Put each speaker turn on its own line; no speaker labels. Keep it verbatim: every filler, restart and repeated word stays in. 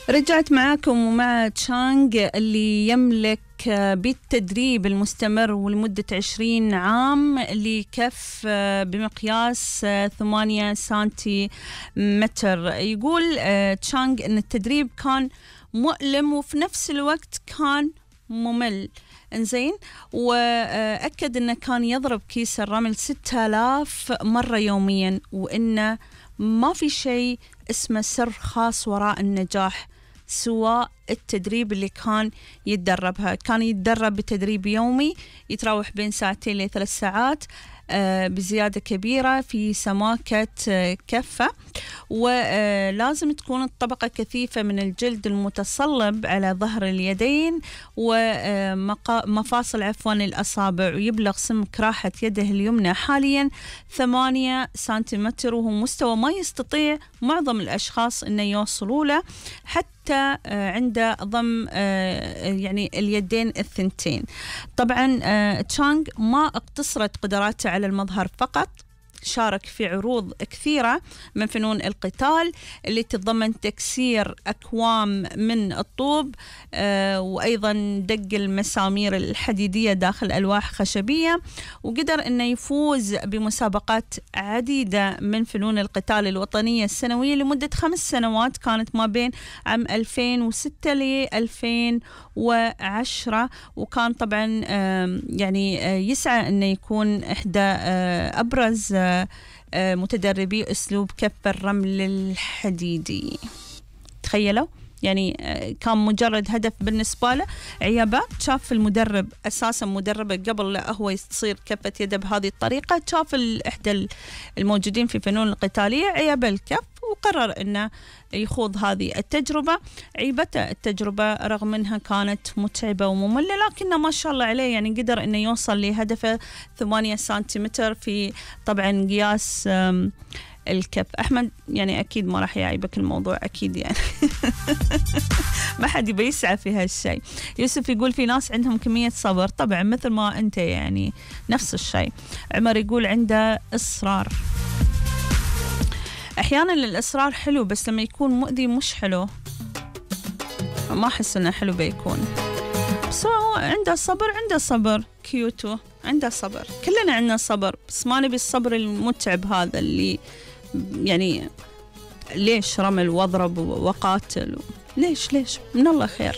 رجعت معاكم ومع تشانغ اللي يملك بالتدريب المستمر ولمدة عشرين عام لكف بمقياس ثمانية سنتي متر. يقول تشانغ أن التدريب كان مؤلم وفي نفس الوقت كان ممل. انزين، وأكد أنه كان يضرب كيس الرمل ستة آلاف مرة يوميا، وأنه ما في شيء اسمه سر خاص وراء النجاح سواء التدريب اللي كان يتدربها. كان يتدرب بتدريب يومي يتراوح بين ساعتين لثلاث ساعات بزيادة كبيرة في سماكة كفة، ولازم تكون الطبقة كثيفة من الجلد المتصلب على ظهر اليدين ومفاصل عفوا الأصابع، ويبلغ سمك راحة يده اليمنى حاليا ثمانية سنتيمتر، وهو مستوى ما يستطيع معظم الأشخاص أن يوصلوا له حتى عند ضم يعني اليدين الثنتين. طبعا تشانغ ما اقتصرت قدراته على المظهر فقط، شارك في عروض كثيرة من فنون القتال اللي تتضمن تكسير أكوام من الطوب آه وأيضا دق المسامير الحديدية داخل ألواح خشبية، وقدر أنه يفوز بمسابقات عديدة من فنون القتال الوطنية السنوية لمدة خمس سنوات كانت ما بين عام ألفين وستة ل ألفين وعشرة، وكان طبعا آه يعني آه يسعى أنه يكون إحدى آه أبرز آه متدربي أسلوب كف الرمل الحديدي. تخيلوا يعني كان مجرد هدف بالنسبة له عيابات. شاف المدرب أساسا مدربه قبل لا هو يصير كفة يده بهذه الطريقة، شاف إحدى الموجودين في فنون القتالية عيب الكف وقرر أنه يخوض هذه التجربة. عيبته التجربة رغم أنها كانت متعبة ومملة، لكنه ما شاء الله عليه يعني قدر أنه يوصل لهدفه ثمانية سنتيمتر في طبعا قياس الكف. أحمد يعني أكيد ما راح يعيبك الموضوع أكيد يعني ما حد يبي يسعى في هالشيء. يوسف يقول في ناس عندهم كمية صبر، طبعا مثل ما أنت يعني نفس الشيء. عمر يقول عنده إصرار. أحيانا الإصرار حلو بس لما يكون مؤذي مش حلو، ما أحس إنه حلو بيكون. بس هو عنده صبر، عنده صبر كيوتو، عنده صبر، كلنا عندنا صبر، بس ما نبي الصبر المتعب هذا اللي يعني ليش رمل واضرب وقاتل، ليش ليش من الله خير.